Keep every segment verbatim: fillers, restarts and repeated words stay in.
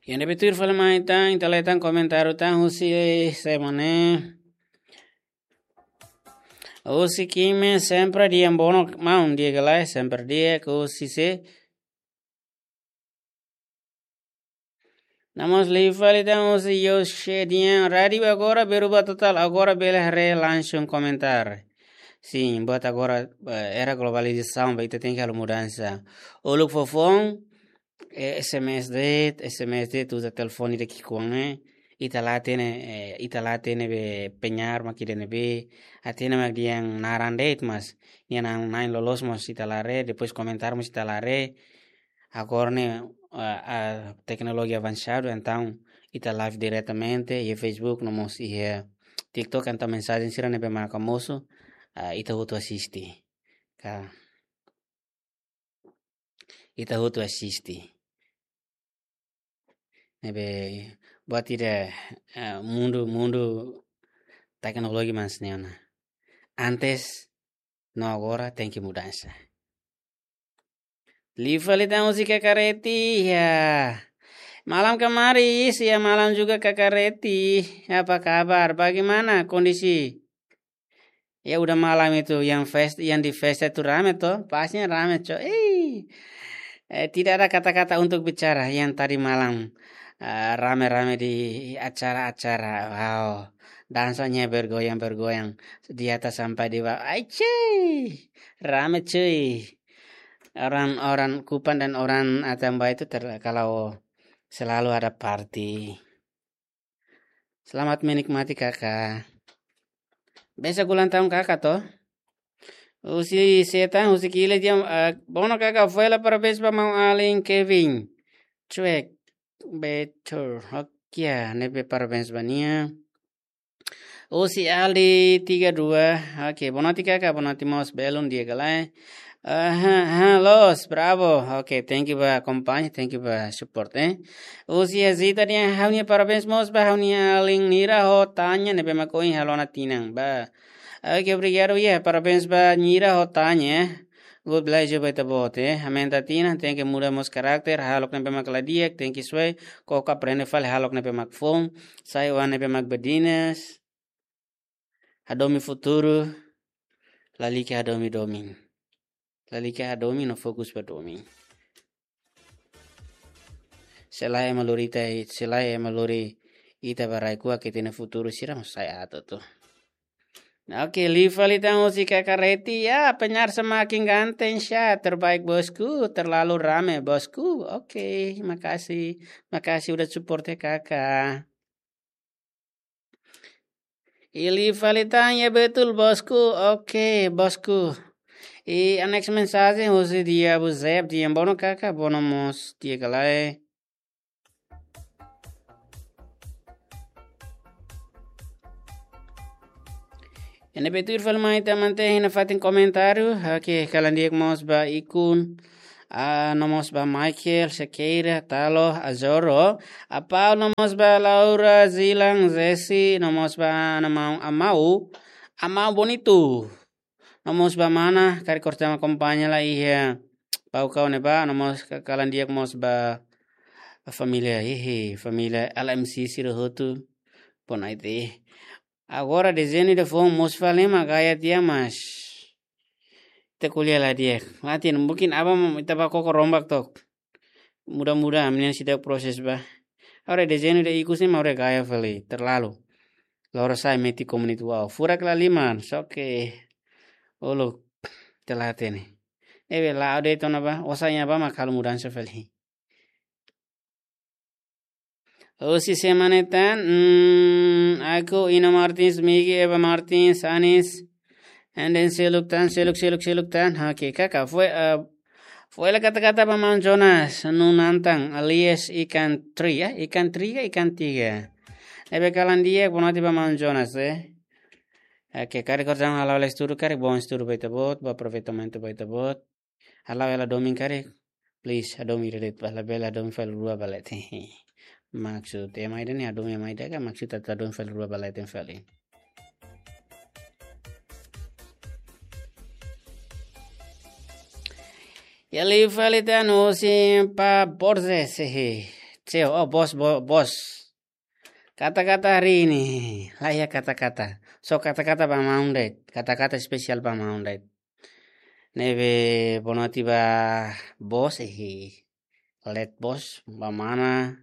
Iha ne'ebé tuir fali mai tan, ita lee tan komentáriu tan husi semana. Husi Kime sempre di'ak, bono maun, di'ak ka lae, sempre di'ak, husi sé. No mós liu fali tan husi Yoshe di'ak, rádiu agora berubah total, agora bele haree langsung komentáriu. Sin, buat agora, eh, era globalizasaun, ba ita tenke halo mudansa. Uluk foufoun, eh, S M S de'it, S M S de'it, uza telefone ida ki'ikoan ne'e, ita la hatene, eh, ita la hatene be penyair mak ida ne'ebé, hatene mak dehan naran de'it, mas nia naran na'in loloos mós ita la haree, depois komentáriu mós ita la haree. Agora ne'e, ah, ah, teknolojia avansadu, entaun ita live diretamente iha Facebook, no mós iha TikTok, entaun mensajen sira ne'ebé mak mosu, ah, ita hotu asiste. Ka, ita hotu asiste. Ne'ebé buat ida, eh, mundu, mundu teknologi mas neona. Antes, no agora tenke mudansa. Liu fali tan husi Kaka Reti, ya. Malam kamaris, ya, malam juga Kaka Reti. Apa kabar? Bagaimana kondisi? Ya, udah malam itu, yang fest-, yang di festa itu rame toh, pasnya rame, cok. Eh, eh, tidak ada kata-kata untuk bicara yang tadi malam. Eh, rame-rame di acara-acara. Wow, dansanya bergoyang-bergoyang di atas sampai di bawah. Ai, cuy, rame, cuy. Orang-orang Kupang dan orang Atambua itu ter-, kalau selalu ada party. Selamat menikmati, Kaka. Besok ulang tahun Kaka toh? Husi Setan, husi Kile di'ak, eh, bono Kaka, foin hela parabéns ba maun-alin Kevin. Cuek, betul. Oke, ya, ne'ebé parabéns ba nia. Husi Aldi tiga dua. Oke, boa noite Kaka, boa noite mós, belun, di'ak ka lae. Aha, aha, loos, bravo. Oke, thank you ba akompaña, thank you ba support, eh. Husi Azita di'ak, ha'u-nia parabéns mós ba ha'u-nia alin Nira ho Tanya ne'ebé mak ohin halo ona tinan ba. Oke, obrigadu, ya, parabéns ba Nira ho Tanya, eh. Good bless you ba ita-boot, eh. Aumenta tinan, tenke muda mós karakter, hahalok ne'ebé mak la di'ak, tenke soe, koko aprende fali hahalok ne'ebé mak foun, sai oan ne'ebé mak badinas. Hadomi futuru, lalika hadomi domin. Lalika hadomi no fokus ba domin. Se lae ema lori ita, se lae ema lori ita ba rai-kuak, ita-nia futuru sira mós sai aat hotu. Oke, liu fali tan husi Kaka Reti, ya, penyair semakin ganteng, sya, terbaik bosku, terlalu rame bosku. Oke, makasih, makasih udah support ya Kaka. Liu fali tan, ya betul bosku. Oke, bosku. I next mensajen husi Dia Buzep, di'ak, bono Kaka, bono mós, di'ak ka lae. Iha ne'ebé tuir fali mai tan, mantén iha nafatin komentáriu. Oke, kalan di'ak mós ba Ikun. Ah, no mós ba Michael, Sequeira, Talo, Azoro, Apau, no mós ba Laura, Zilan, Zesi, no mós ba Ana Mau, Amau, Amau Bonitu. No mós ba mana, karik kortama kompañia lai iha Baucau ne'ebá, no mós ka-, kalan di'ak mós ba família, hehe, família L M C sira hotu. Boa noite. Agora dezeñu ida foun mosu fali mak gaya tiha, mas ita ko'alia la di'ak. Mati, mungkin aban ita bá koko rombak took. Mudah-mudahan ami-nian seidauk proses ba. Agora dezeñu ida ikus ne'e mak agora gaya fali, terlalu. Loro sai meti komunitu, wow. Furak la liman, só que uluk, ita la hatene. Ne'ebé la'o de'it ona ba, osan iha ba mak halo mudansa fali. Husi semana ne'e tan, hmm, aku, Ina Martins, Migi, Eva Martins, Anis, and then seluk tan, seluk, seluk, seluk tan. Oke, Kaka, foin, eh, foin hela kata-kata ba maun Jonas Nunantan, alias Ikan Tri, ya, Ikan Tri ka Ikan Tiga. Ne'ebé kalan di'ak, boa noite ba maun Jonas, eh. Oke, karik kortama halo hela estudu, karik bom estudu ba ita-boot, bom aproveitamentu ba ita-boot. Halo hela domin karik, please, hadomi ida de'it, bele, bele hadomi fali rua ba leten. Maksud ema ida ne'e hadomi ema ida ka, maksud atu hadomi fali rua ba leten fali. Ya, liu fali tan husi Pa Borges, hehe. Seu, oh, bos, bo-, bos. Kata-kata hari ini. Laiha kata-kata. So kata-kata ba maun de'it. Kata-kata espesiál ba maun de'it. Ne'ebé boa noite ba bos, eh. Let bos, ba mana.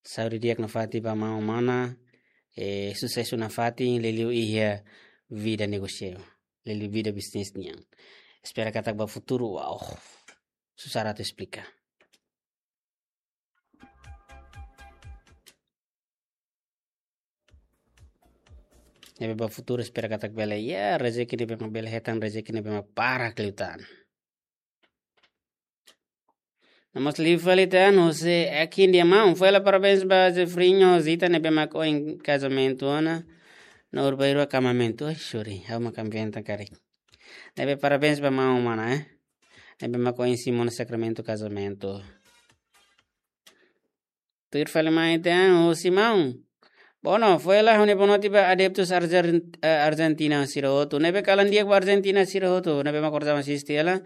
Saúde di'ak nafatin ba maun mana, eh, susesu nafatin, liuliu iha vida negósiu, liuliu vida bisnis nian. Espera katak ba futuru, wow, susar atu esplika. Ne'ebé ba futuru espera katak bele, ya, rezeki ne'ebé mak bele hetan, rezeki ne'ebé mak barak liután. Nomós liu fali tan, husi Ekin dia maun, foin hela parabéns ba Jefrinho Zita ne'ebé mak ohin kazamentu ona, no urbairua kamamentu. Ai, sorry, ha'u mak inventa karik. Ne'ebé parabéns ba maun mana, eh. Ne'ebé mak ohin simu ona sakramentu kazamentu. Tuir fali mai tan, husi maun. Bono, foin hela ha'u-nia boa noite ba adeptus Arjen-, eh, Argentina sira hotu. Ne'ebé kalan di'ak ba Argentina sira hotu. Ne'ebé mak orsida asiste hela.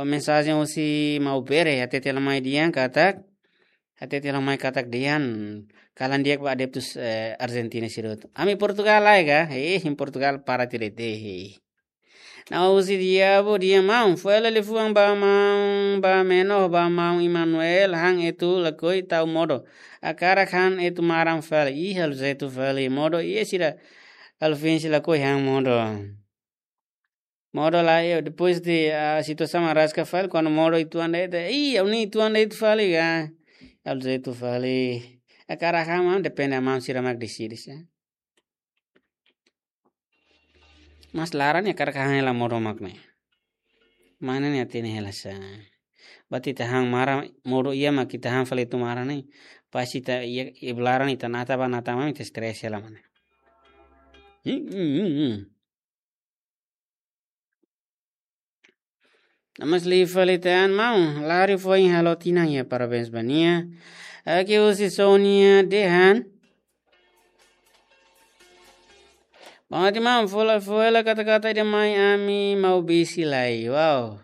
Mensajen husi maun Bere, hatete hela mai dehan katak. Hatete hela mai katak dehan. Kalan di'ak ba adeptus, eh, Argentina sira hotu. Ami Portugal lai ka? Eh, em Portugal para tirete, eh. Nau husi Diabu dehan maun, foin hela liafuan ba maun, ba meno, ba maun Emanuel, han etu lakohi tau modo. Hakarak han etu maran fali, ih, halo zaitu fali, modo, iha sira, halo fensi lakohi han modo. Modo la, eh, depois de, ah, situasaun araska fali, kuandu modo uitoan de'it, ih, ha'u-nia uitoan de'it fali, ah, halo zaitu fali. Hakarak han maun, depende maun sira mak deside, sa. Mas laran ne'e hakarak han hela modo mak ne'e. Mana ne'e hatene hela sa. Berarti ita han maran modo iha mak ita han fali etu maran ne'e. Pas ita iha, iha laran ita nata ba nata mak ita stres hela mana. Hmm, hmm, hmm, hmm. Nomós liu fali tan maun, lari foin halo tinan iha parabéns ba nia. Oke, husi Sonia dehan. Boa noite maun, foin hela, foin hela kata-kata ida mai ami Maubisi lai. Wow.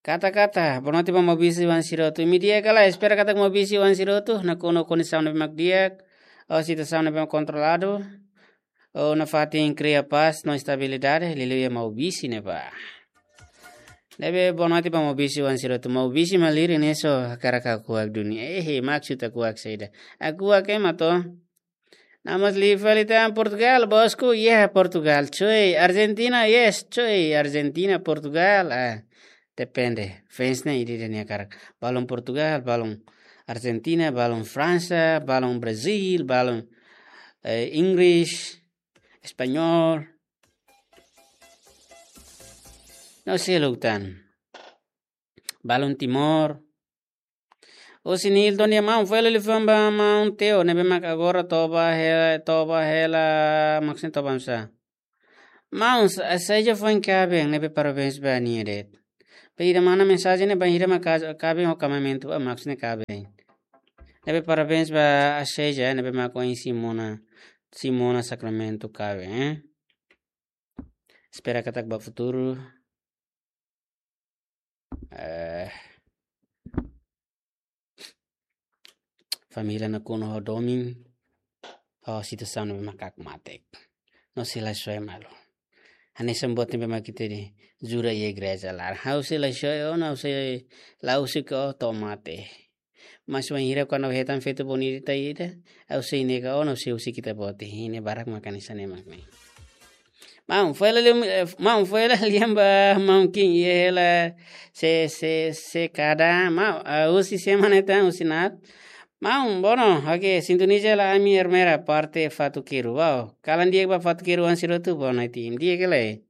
Kata-kata, boa noite ba Maubisi wan sira hotu. Imi di'ak ka lae, espera katak Maubisi wan sira hotu nakonu kondisaun ne'ebé mak di'ak. Ou situasaun ne'ebé mak kontroladu. Ou nafatin kria pás no estabilidade, liuliu iha Maubisi ne'ebá. Ne'ebé boa noite ba Maubisi wan sira hotu. Maubisi malirin ne'e só hakarak hakuak duni. Eh, eh, maksud hakuak saida. Hakuak ema to. Nomós liu fali tan Portugal, bosku, yeah, Portugal. Choi, Argentina, yes, choi, Argentina, Portugal. Ah, depende. Fans ne'e ida-idak nia hakarak. Balun Portugal, balun Argentina, balun Fransa, balun Brazil, balun, eh, Inggris, Espanhol. No sei lutan. Balun Timor. Husi Nilton dehan maun, foin hela liafuan ba maun Teo, ne'ebé mak agora toba hela, toba hela, maksudnya toba oinsá. Maun, Sa-, Saija foin kaben, ne'ebé parabéns ba nia de'it. Be ida mana mensajen ne'e bainhira mak ka-, kaben ho kamamentu, ah, maksudnya kaben. Ne'ebé parabéns ba Saija, ne'ebé mak ohin simu ona, simu ona sakramentu kaben, eh. Espera katak ba futuru. Eh, família nakonu ho domin, ho situasaun ne'ebé mak kaku mateek. No sei la soe malu. Hanesan buat ne'ebé mak ita dehan jura iha igreja laran. Ha'u sei la soe ona, ha'u sei la husik ó to'o mate. Mas bainhira kuandu hetan feto bonita ida, ha'u sei nega ona, ha'u sei husik ita-boot. Ne'e barak mak hanesan ne'e mak ne'e. Maun, foin hela lian, eh, maun, foin hela lian ba maun Kim, iha hela se, se, se kada, maun, ah, husi semana tan, husi nat. Maun, bono, oke, sintoniza hela ami Ermera, parte Fatukeiru. Wow, kalan di'ak ba Fatukeiru wan sira hotu, boa noite. Di'ak ka lae.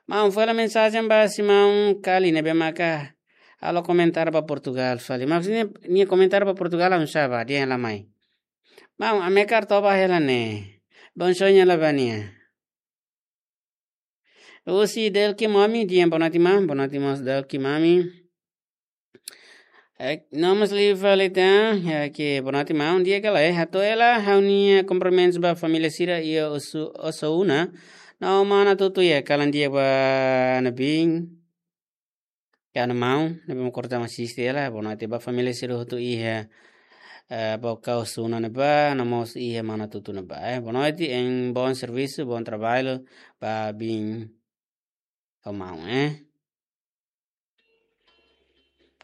Maun, foin hela mensajen ba si maun Kali ne'ebé maka halo komentar ba Portugal fali. Maksudnya, nia komentar ba Portugal oinsá ba, dehan hela mai. Maun, Amekar toba hela ne'e. Bom sonho hela ba nia. Husi Delki Mami, dehan boa noite maun, boa noite maun Delki Mami. Eh, nomós liu fali tan, ya ke boa noite maun, di'ak ka lae, hato'o hela ha'u-nia kumprimentus ba família sira iha Osu-, Osauna. No mana tutu ya, kalan di'ak ba nabin. Ka no maun, ne'ebé mak korta asiste hela, boa noite ba família sira hotu iha, eh, Baucau Suna ne'ebá, no mós iha Manatuto ne'ebá, eh. Boa noite, em bom serviço, bom trabalho, ba biin ho maun, eh.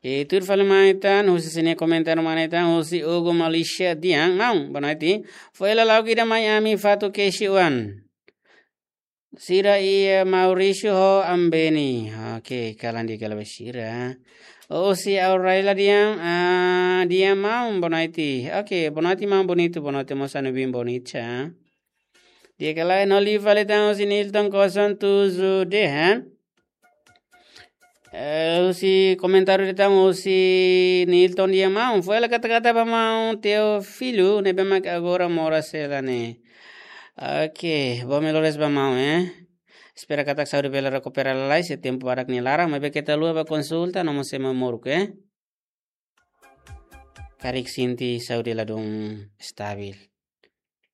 I tuir fali mai tan, husi sira-nia komentáriu mai tan, husi Hugo Malaysia dehan, maun, boa noite. Foin hela lagu ida mai ami Fatuk Kesi Wan. Sira iha Maurício ho Ambeni. Oke, kalan di'ak hela ba sira. Husi Aurela dehan, ah, dehan maun boa noite. Oke, boa noite maun Bonito, boa noite mós ami-nia biin Bonita. Di'ak hela, no liu fali tan husi Nilton kosong tujuh dehan. Eh, husi komentáriu ida tan husi Nilton dehan maun. Foin hela kata-kata ba maun Teofilo, ne'ebé mak agora moras hela ne'e. Oke, bom melhoras ba maun, eh. Espera katak saúde bele rekupera lalais, iha tempu badak nia laran, maibé keta haluha ba konsulta, no mós ema moruk, eh. Karik sente saúde ladún estabil.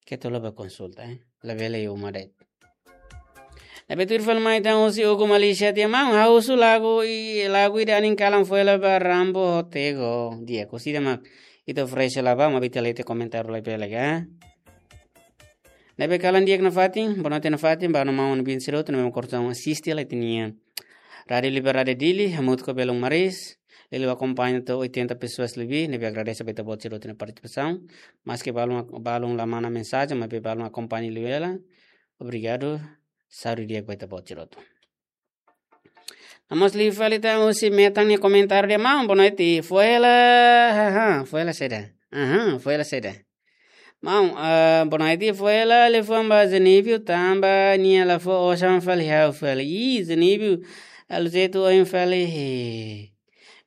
Keta haluha ba konsulta, eh. Labele iha uma de'it. Ne'ebé tuir fali mai tan husi Hugo Malaysia dehan maun, ha'u husu lagu i, lagu ida anin kalan foin hela ba Rambo ho Tego. Di'ak, husi ida mak ita oferese hela ba, maibé ita lee tiha komentáriu labele ka. Ne'ebé kalan di'ak nafatin, boa noite nafatin, ba no maun no biin sira hotu, ne'ebé mak korta asiste hela ita-nia Rádio Liberdade Dili, hamutuk ho Belun Maris, liuliu akompaña to'o oitenta pessoas lebih, ne'ebé agradese ba ita-boot sira hotu nia partisipasaun, maski balun, balun la manda mensajen, maibé balun akompaña liu hela, obrigadu, saúde di'ak ba ita-boot sira hotu. No mós liu fali tan husi Metan nia komentáriu dehan maun, boa noite, foin hela, haha, foin hela saida, aha, foin hela saida. Maun, ah, boa noite, foin hela liafuan ba Zenívio, tanba nia la fó osan fali ha'u fali. Ih, Zenívio, halo jeitu ohin fali.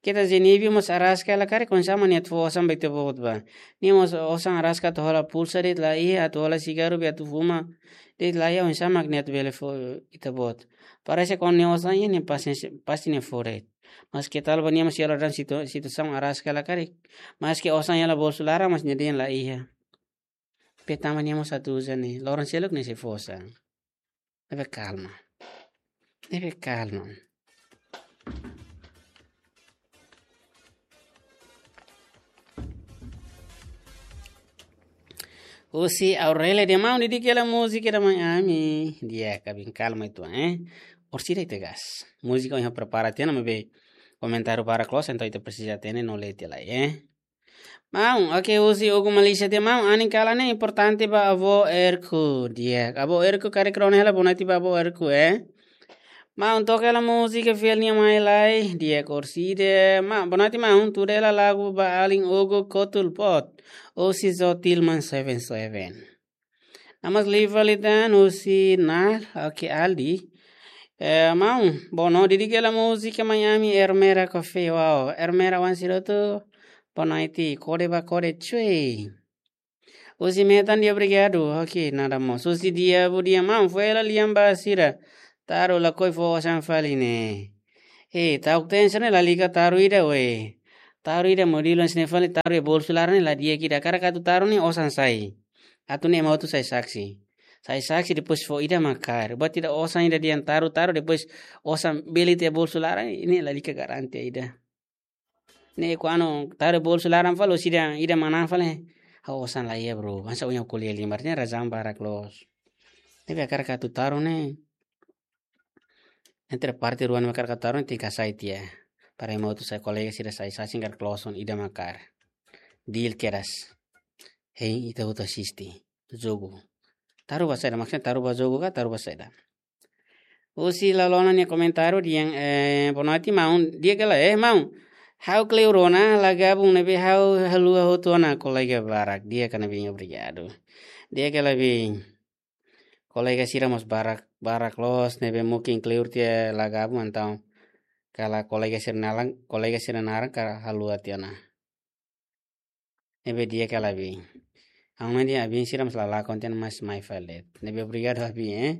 Keta Zenívio mós araska hela karik, oinsá mak nia atu fó osan ba ita-boot ba. Nia mós osan araska atu hola pulsa de'it la iha, atu hola sigarru be atu fuma de'it la iha, oinsá mak nia atu bele fó ita-boot. Parese kuandu nia osan iha nia pasti, pasti nia fó de'it. Maske tanba nia mós iha loron situ-, situasaun araska hela karik. Maske osan iha nia bolsu laran, mas nia dehan la iha. Be tanba nia mós atu uza ne'e, loron seluk nia sei fó osan. Ne'ebé kalma. Ne'ebé kalma. Husi Aurelia dehan maun, didik hela múzika ida mai ami. Di'ak, biin kalma uitoan, eh. Orsida ita gas. Múzika ohin prepara tiha ona maibé komentáriu barak loos, entaun ita presiza hatene no lee tiha lai, eh. Maun, oke, husi Hugo Malaysia dehan maun, anin kalan ne'e importante ba avó Erku. Di'ak, avó Erku karik rona hela boa noite ba avó Erku, eh. Maun, toka hela múzika fiel nia mai lai, di'ak orsida. Ma, boa noite maun, tuda hela lagu ba alin Hugo Kotulpot. Husi Zotilman seven seven. No mós liu fali tan husi Nal, oke, Aldi. Eh, maun, boa noite, didik hela múzika mai ami Ermera Coffee, wow. Ermera wan sira hotu, boa noite, kode ba kode, cuy. Husi Metan dehan obrigadu, oke, nada mós. Husi Diabu dehan maun, foin hela lian ba sira. Taru lakohi fó osan fali ne'e. Eh, ta'uk tensa ne'e lalika taru ida, we. Taru ida modelu hanesan ne'e fali, taru iha bolsu laran ne'e la di'ak ida. Hakarak atu taru ne'e osan sai. Atu ne'e ema hotu sai saksi. Sai saksi depois fó ida mak kaer. Buat ida osan ida dehan taru, taru depois osan bele tiha bolsu laran ne'e lalika garantia ida. Ne'e kuandu taru bolsu laran fali, orsida ida manán fali. Ha'u osan la iha, bro. Hanesan ohin ha'u ko'alia liu, artinya razaun barak loos. Ne'ebé hakarak atu taru ne'e. Entre parte rua ne'ebé hakarak atu taru ne'e tenke hasai tiha. Para ema hotu sai, kolega sira sai saksi karik loos ona, ida mak kaer. Deal kedas. Hein, ita hotu asiste jogu. Taru ba saida, maksudnya taru ba jogu ka, taru ba saida. Husi Lalona nia komentáriu dehan, eh, boa noite maun, di'ak hela, eh, maun. Ha'u kleur ona, la gabung ne'ebé ha'u haluha hotu ona kolega barak, di'ak ka, biin, obrigadu. Di'ak hela, biin. Kolega sira mós barak, barak loos, ne'ebé mungkin kleur tiha la gabung, entaun kala kolega sira naran, kolega sira naran ka haluha tiha ona. Ne'ebé di'ak hela, biin. Ha'u mai dehan biin sira mós la lakon tiha ona, mas mai fali de'it. Ne'ebé obrigadu, biin, eh.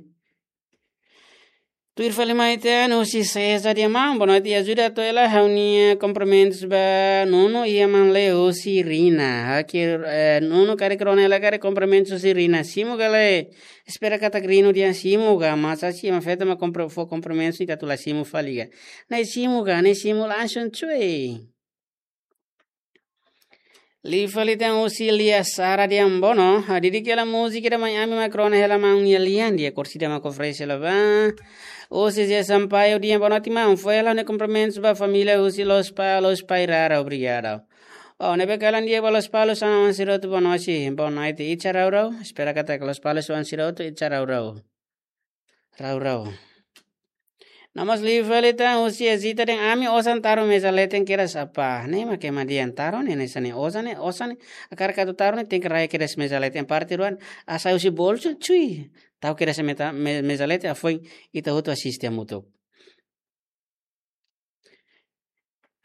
Tuir fali mai ita-nia husi César dehan maun, boa noite, ajuda atu hela ha'u-nia komprimentus ba Nuno, iha maun Leo husi Rina. Oke, eh, Nuno karik rona hela karik komprimentus husi Rina. Simu ka lae, espera katak Rina dehan simu ka, mas asin ema feto mak kompre-, fó komprimentus ita atu la simu fali ka. Ne'e simu ka, ne'e simu langsung cuy. Liu fali tan husi Lia Sara dehan bono, ah, didik hela múzika ida mai ami mak rona hela maun nia lian di'ak, orsida mak oferese hela ba. Husi Zé Sampaio dehan boa noite maun, fó hela ha'u-nia komprimentus ba família husi Lospalos, Pairara, obrigadu. Oh, ne'ebé kalan di'ak ba Lospalos, sana wan sira hotu boa noite, boa noite, ita rau-rau, espera katak Lospalos wan sira hotu, ita rau-rau. Rau-rau. No mós liu fali tan husi Ezita dehan ami osan taru meza leten kedas apá. Ne'e mak ema dehan taru ne'e, ne'e sá ne'e osan ne'e, osan ne'e. Hakarak atu taru ne'e tenke rai kedas meza leten parte rua. Hasai husi bolsu, cuy. Tau kedas meta-, me-, meza leten, hafoin ita hotu asiste hamutuk.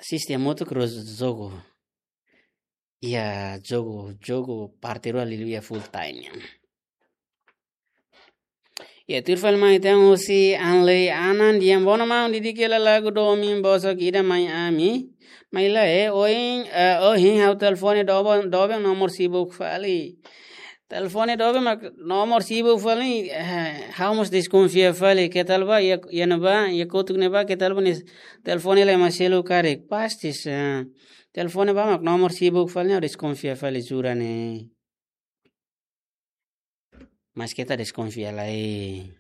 Asiste hamutuk rua jogu. Iha jogu, jogu parte rua liuliu iha full time nian. Iha tuir fali mai tan husi Anley Anan dehan bono maun, didik hela lagu domin bosok ida mai ami. Mai lae, eh, ohin, eh, ohin ha'u telefone doben, doben nomor sibuk fali. Telefone doben mak nomor sibuk fali, eh, ha'u mós deskonfia fali. Ketal ba, iha, iha ne'ebá, iha kotuk ne'ebá, ketal ba nia telefone la ema selu karik. Pasti, eh, telefone ba mak nomor sibuk fali, ha'u deskonfia fali, jura ne'e. Mas keta deskonfia lai.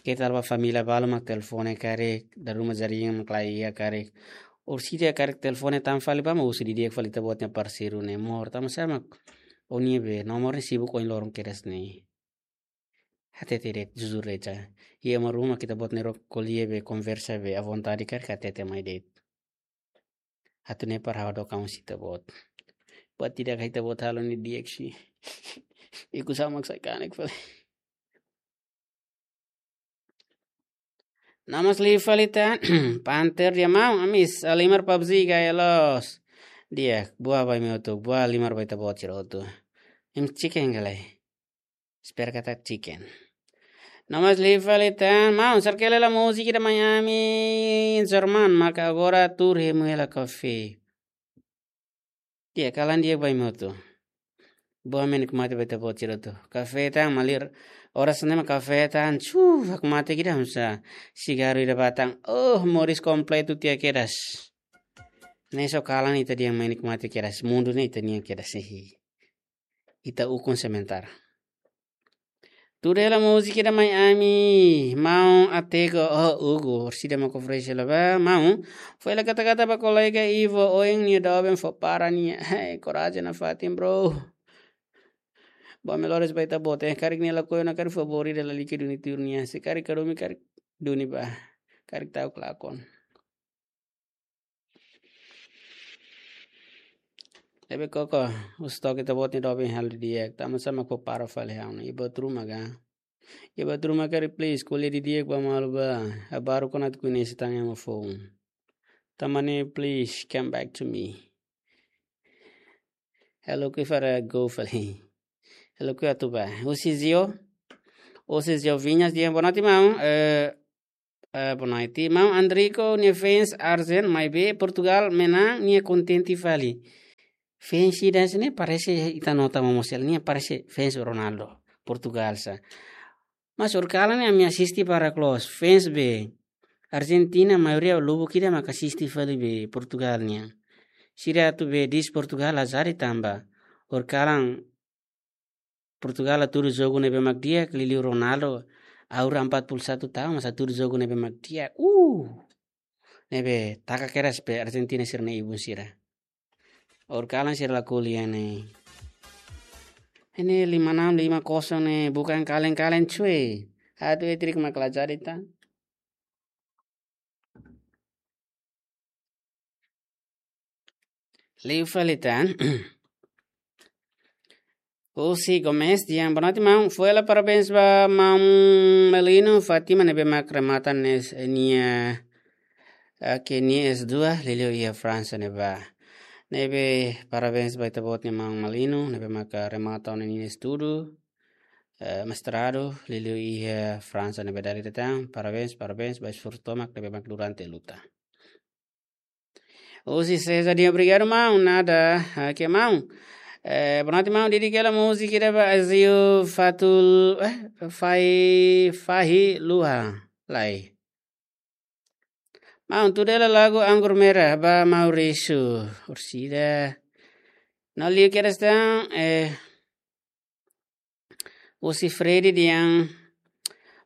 Ketal ba família balu mak telefone karik, dala ruma jaringan mak laiha karik. Orsida karik telefone tan fali ba mak husu didi'ak fali ita-boot nia parseiru ne'e, mós tanba sá mak ó-nia be nomor ne'e sibuk ohin loron kedas ne'e. Hatete de'it, jujur de'it. Iha ema ruma ita-boot nia rok ko'alia be, konversa be, à vontade karik hatete mai de'it. Atu ne'e para ha'u hadook an husi ita-boot. Buat ida ka ita-boot halo ne'e di'ak sih. Ikus ha'u mak sai kanek fali. No mós liu fali tan, Panther dehan maun, ami halimar PUBG gaya loos. Di'ak, buat ba imi hotu, buat halimar ba ita-boot sira hotu. Imi chicken ka lae. Espera katak chicken. No mós liu fali tan, maun, serke hela múzika ida mai ami, German, maka agora tuur hemu hela kafé. Di'ak, kalan di'ak ba imi hotu. Buat menik mate ba ita-boot sira hotu. Kafé tan, malir, oras ne'e mak kafé tan, chu, hakmatek ida hamsa. Sigarru ida ba tan, oh, moris kompletu tiha kedas. Ne'e só kalan ita-nia menik mate kedas, mundu ne'e ita-nian kedas, hihi. Ita ukun sementara. Tuur hela múzika ida mai ami, maun Atego, oh, Hugo, orsida mak oferese hela ba, maun. Fó hela kata-kata ba kolega Ivo, ohin nia doben fó para nia. Hei, korajen nafatin, bro. Ba melhores ba ita-boot, eh, karik nia lakohi ona karik favór ida lalika duni tuur nia, se karik kadomi karik duni ba, karik ta'uk lakon. Ne'ebé koko, husu took ita-boot nia doben halo di'ak, tanba sá mak fó para fali ha'u ne'e, iha buat ruma ka. Iha buat ruma karik please, ko'alia didi'ak ba malu ba, habaruk ona atu koñese tan ema foun. Tanba ne'e please, come back to me. Ha'u lakohi fali go fali. Ha'u lakohi atu ba. Husi Zio. Husi Zio Vinhas dehan boa noite maun. Eh, Eh, boa noite. Maun Andrico nia fans arjen, maibé Portugal menang, nia kontente fali. Fans ida-ne'e parese ita nota momosi hela, nia parese fans Ronaldo, Portugal sá. Mas horikalan ne'e ami asiste para close, fans be Argentina maioria lubuk ida mak asiste fali be Portugal nian. Sira atu be di'ak Portugal la jadi tanba horikalan Portugal hatudu jogu ne'ebé mak di'ak, liuliu Ronaldo, aura empat puluh satu tahun, mas hatudu jogu ne'ebé mak di'ak. Uh! Ne'ebé taka kedas be Argentina sira-nia ibun sira. Horikalan sira la ko'alia ne'e. Ne'e lima enam, lima kosong ne'e, bukan kaleng-kaleng cuy. Atu hat-trick mak la jadi tan. Liu fali tan. Husi Gomes dehan boa noite maun. Fó hela parabéns ba maun Melino Fátima ne'ebé mak remata nia, nia, eh, ke nia S dua, liuliu iha Fransa ne'ebá. Ne'ebé parabéns ba ita-boot nia maun Melino ne'ebé mak remata ona nia estudu. eh, mestradu, liuliu iha Fransa ne'ebé dala ida tan, parabéns, parabéns, ba esforsu tomak ne'ebé mak durante luta. Husi César Dias, obrigadu, maun, nada, ah, ke maun. Eh, boa noite, maun, dedika hela múzika ida ba Azio Fatul, eh, Fai, Fahi Luha, lai. Maun, tuda hela lagu Anggur Merah ba Maurício Orsida. No liu kedas tan, eh, husi Freddy dehan: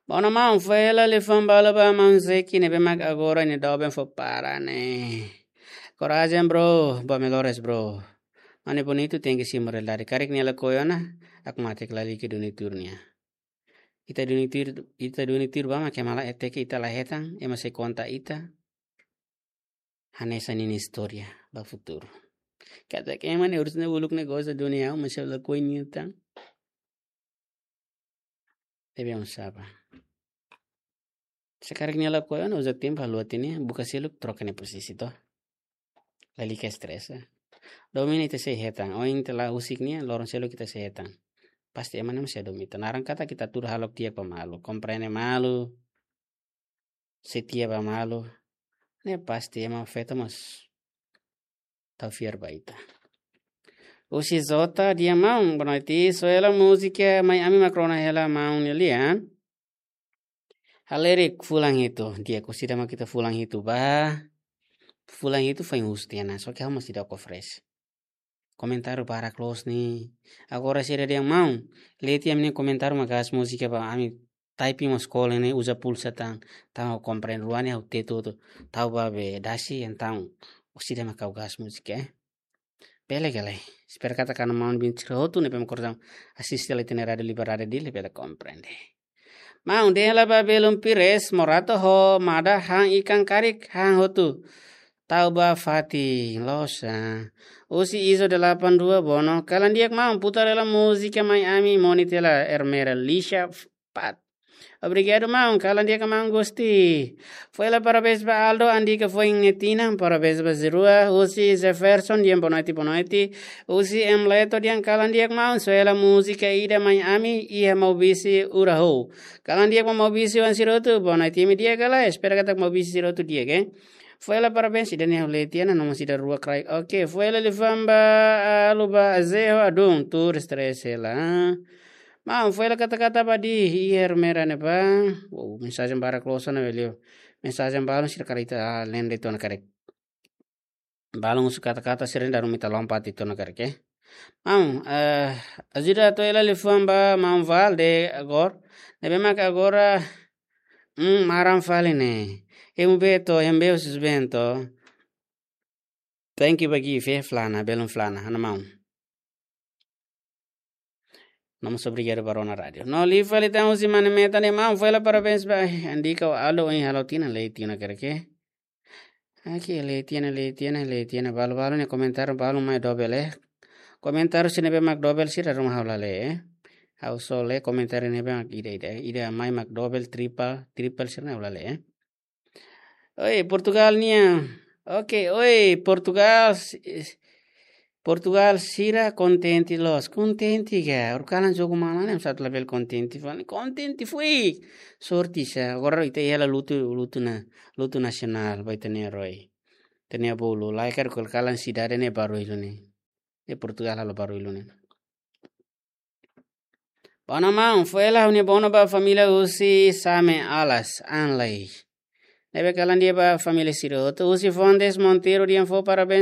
Bono maun, fó hela liafuan balu ba maun Zeki ne'ebé mak agora nia doben fó para ne'e. Korajen bro, ba melhores bro. Mane bonitu tenke simu realidade. Karik nia lakohi ona, hakmatek lalika duni tuur nia. Ita duni tuur, ita duni tuur ba mak ema la hateke ita la hetan, ema sei konta ita hanesan ninia istória ba futuru. Katak ema ne'e urus ne'e uluk ne'e goza duni ha'u, mas ha'u lakohi nia tan. Debe un saba. Se karik nia lakohi ona, uza tempu haluha tiha nia, buka seluk, troka nia posisi to. Lalika estresa. Domin ita sei hetan, ohin ita la husik nia, loron seluk ita sei hetan. Pasti ema ne'e mós sei domin ita. Naran katak ita tuur halo di'ak ba malu, komprende malu, setia ba malu. Ne'e pasti ema feto mós tau fiar ba ita. Husi Zota dehan: Maun, boa noite, soe hela múzika Mai Ami mak rona hela maun nia lian. Halerik fulan hitu, di'ak, orsida mak ita fulan hitu ba. Fulan hitu foin husu tiha ona, só ke ha'u mós seidauk oferese. Komentáriu barak loos ne'e. Agora sira dehan: Maun, lee tiha ami-nia komentáriu mak gas múzika ba ami, typing mós kole ne'e, uza pulsa tan, tau komprende rua ne'e ha'u tetu tu, tau ba be dasi, entaun orsida mak ha'u gas múzika, eh. Bele ka lae. Espera katak maun-alin sira hotu ne'ebé mak kordang asiste hela ita-nia Rádiu Liberdade Dili bele komprende. Maun, dehan hela ba belun Pires, Morato ho Mada han ikan karik, han hotu. Tau ba fatin, loos, ah. Husi Izo delapan dua, Bono, kalan di'ak maun, putar hela múzika Mai Ami, moni tiha hela Ermera Lisha Pat. Obrigadu maun, kalan di'ak maun Gusti. Fó hela parabéns ba Aldo, Andika foin nia tinan, parabéns ba sira rua. Husi Jefferson dehan boa noite, boa noite. Husi M Leto dehan kalan di'ak maun, soe hela múzika ida Mai Ami, iha Maubisse Uraho. Kalan di'ak ba Maubisse ho sira hotu, boa noite, ami di'ak ka lae, espera katak Maubisse sira hotu di'ak, eh. Fó hela parabéns, ida-ne'e ha'u lee tiha ona, nomor ida rua kraik. Oke, fó hela liafuan ba, ah, Luba Azeho Adun, tuur estresa hela. Maun, fó hela kata-kata ba di, iha Ermera ne'ebá. Wow, mensajen barak loos ona, velho. Mensajen balun sira karik ita, ah, lende tiha ona karik. Balun husu kata-kata sira dala ruma ita lompat tiha ona karik, eh. Maun, eh, ajuda atu hela liafuan ba maun Valde agora. Ne'ebé mak agora, hmm, maran fali ne'e. Emu beto, emu be husi Bento. Thank you ba gift, eh, Flana, belun Flana, ha'u-nia maun. Nomor obrigadu ba rona rádiu. No liu fali tan husi Mane Meta ne'e, maun, fó hela parabéns ba, eh, Andika ho Aldo, ohin halo tinan, lee tiha ona karik, eh. Oke, lee tiha ona, lee tiha ona, lee tiha ona, balu-balu ne'e komentáriu balu mai dobel, eh. Komentáriu sira ne'ebé mak dobel sira dala ruma ha'u la lee, eh. Ha'u só lee komentáriu ne'ebé mak ida, ida, ida mai mak dobel, tripel, tripel sira ne'e ha'u la lee, eh. Oi, Portugal nian. Oke, oi, Portugal, si-, Portugal sira kontente loos. Kontente ka? Orsida kalan jogu malu ne'e, ema satu labele kontente fali. Kontente foin. Sorte sá. Agora ita iha hela lutu, lutu na, lutu nasionál, ba ita-nia rai, ita-nia bolu. Lae karik orsida kalan sidade ne'e barullu ne'e. Iha Portugal halo barullu ne'e. Bono maun, fó hela ha'u-nia bono ba família husi Same Alas, Anlai. Ne'ebé kalan di'ak ba família sira hotu. Husi Fontes Monteiro dehan fó parabéns